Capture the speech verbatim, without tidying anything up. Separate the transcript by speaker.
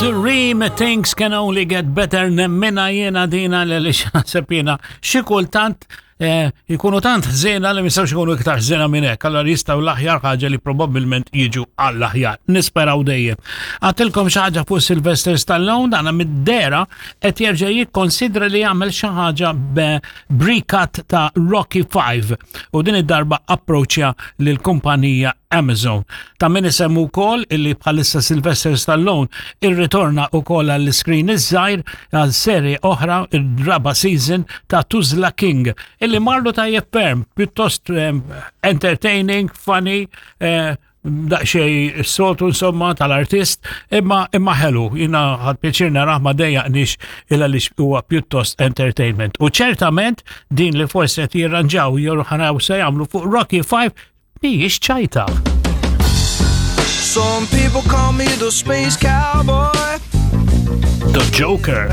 Speaker 1: The Dream, Things Can Only Get Better, nemmina jena dina li li naħseb jiena xi kultant eh, jkunu tant ħżiena li mistgħux ikunu iktar ħżiena minn hekk, allora jistgħu l-aħjar ħaġa li probabbilment jiġu għall-aħjar. Nisperaw dejjem. Għedtilkom xi ħaġa fuq Sylvester Stallone, dana mid-dehra qed jerġa' jikkonsidra li jagħmel xi ħaġa b'recut ta' Rocky five u din id-darba approċċja lill-kumpanija Amazon. Ta' min isemmu wkoll illi bħalissa Sylvester Stallone irritorna wkoll għall-screen iż-żgħir għal serie oħra, ir-raba season ta' Tulsa King, illi marlu tajjeb ferm, pjuttost eh, entertaining, funny, eh, daqxej s-soltu insomma tal-artist, imma imma ħelu, jiena ħadt pjaċir narah, ma dejjaqnix illa li huwa pjuttost entertainment. U ċertament din li forsi qed jirranġaw jew ħa naraw se jagħmlu fuq Rocky five mhijiex ċajta.
Speaker 2: Some people call me the space cowboy.
Speaker 1: The Joker.